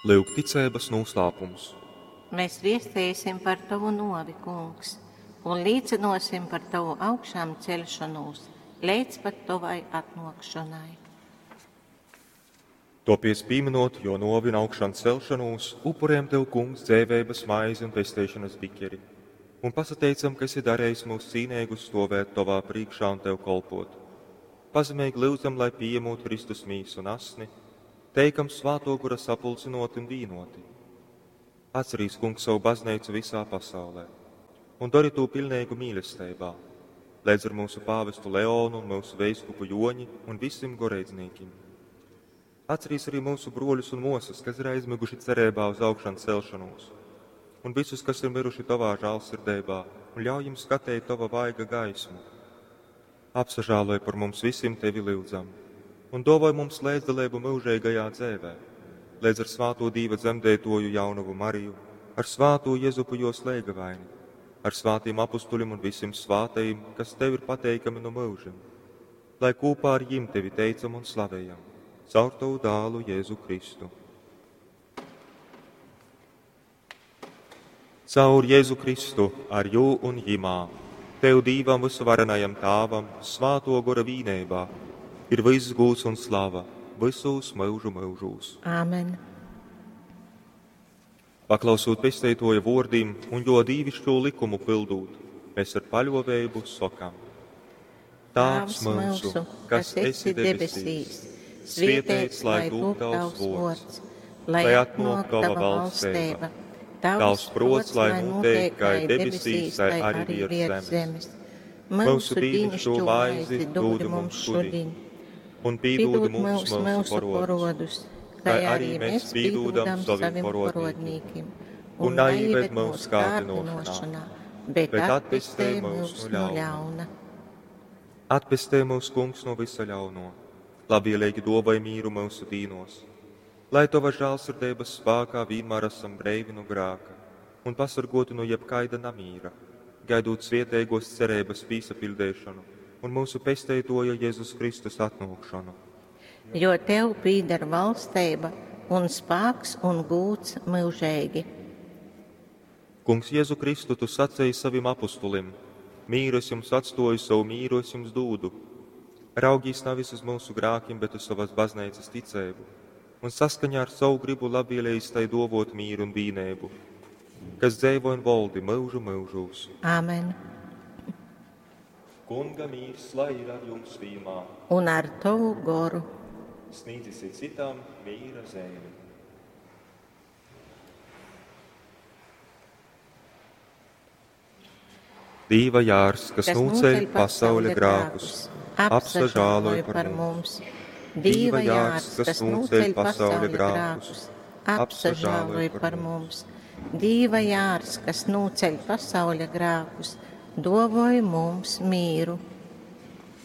Lyuk ticeibas nūslāpums. Mēs viestēsim par tavu novi, kungs, un līcinosim par tavu augšām celšanos līdz pat tavai atnākšanai. Topies pieminot, jo novi un augšām celšanos, upurējam tev, kungs, dzēvēbas maizi un pesteišanas bikeri, un pasateicam, ka esi darējis mūs cīnēgus stovēt tovā priekšā un tev kolpot. Pazemīgi lūdzam, lai pieņemot Kristus mīsu un asni, teikam svāto gura sapulcinoti un vīnoti. Atcerīs, kungs, savu baznīcu visā pasaulē un dari to pilnīgu mīlestībā, līdz ar mūsu pāvestu Leonu un mūsu veiskupu Joņi un visiem goreidznīkim. Atcerīs arī mūsu broļus un mosas, kas ir aizmiguši cerībā uz augšanu celšanos, un visus, kas ir miruši tavā žālsirdībā, un ļauj jums skatīt tava vaiga gaismu. Apsažāloj par mums visiem tevi lūdzam, un dovoj mums līdzdalību mūžīgajā dzēvē, līdz ar svāto Dīva dzemdētoju jaunavu Mariju, ar svāto Jezupu jos lēgavaini, ar svātiem apustuļiem un visiem svātajiem, kas tev ir pateikami no mūžiem, lai kopā ar jim tevi teicam un slavējam, caur tavu dālu Jēzu Kristu. Caur Jēzu Kristu, ar jū un jimā, tev Dīvam visuvarenajam Tāvam, svāto gora vīnībā, ir viss gūts un slava, visos mūžu mūžūs. Āmen. Paklausot pesteitoja vōrdim un jo dīvišķo likumu pildūt, mēs ar paļovējubu sokam. Tāvs mūsu, kas esi debesīs, svietēts lai tūp tavs vōrds, lai atnāk tava valstība, tavs prots, lai notiek kā debesīs, tai arī virs zemes. Mūsu dīnišķo maizi dod mums šodien, un pīdūdi mums mūsu porodus, kā arī mēs pīdūdam saviem porodnīkim, un neieved mūsu kārdinošanā, bet atpestē mūs no ļauna. Atpestē mūs, kungs, no visa ļauno, labvēlīgi dovai mīru mūsu dīnos, lai tava žālsirdības spēkā vienmēr esam breivi no grāka un pasargoti no jebkaida namīra, gaidot svietēgos cerības pīsapildēšanu un mūsu pesteitoja Jēzus Kristus atnākšanu. Jo tev pīder valstība un spēks un gūts mūžīgi. Kungs Jēzu Kristu, tu sacīji savim apustulim: Mīru es jums atstoju, savu mīru es jums dūdu. Raugīs nevis uz mūsu grākiem, bet uz savas baznīcas ticēbu, un saskaņā ar savu gribu labvēlējis tai dovot mīru un vīnēbu, kas dzēvo un voldi mūžu mūžūs. Āmen. Kunga mīrs, lai ir ar jums vienmēr. Un ar tavu goru. Sniedzisi citam mīra zēni. Dīva jārs, kas, kas nūceļ pasauļa grākus, apsažāloj par mums. Dīva jārs, kas nūceļ pasauļa grākus, apsažāloj par mums. Dīva jārs, kas nūceļ pasauļa grākus, dovoj mums mīru.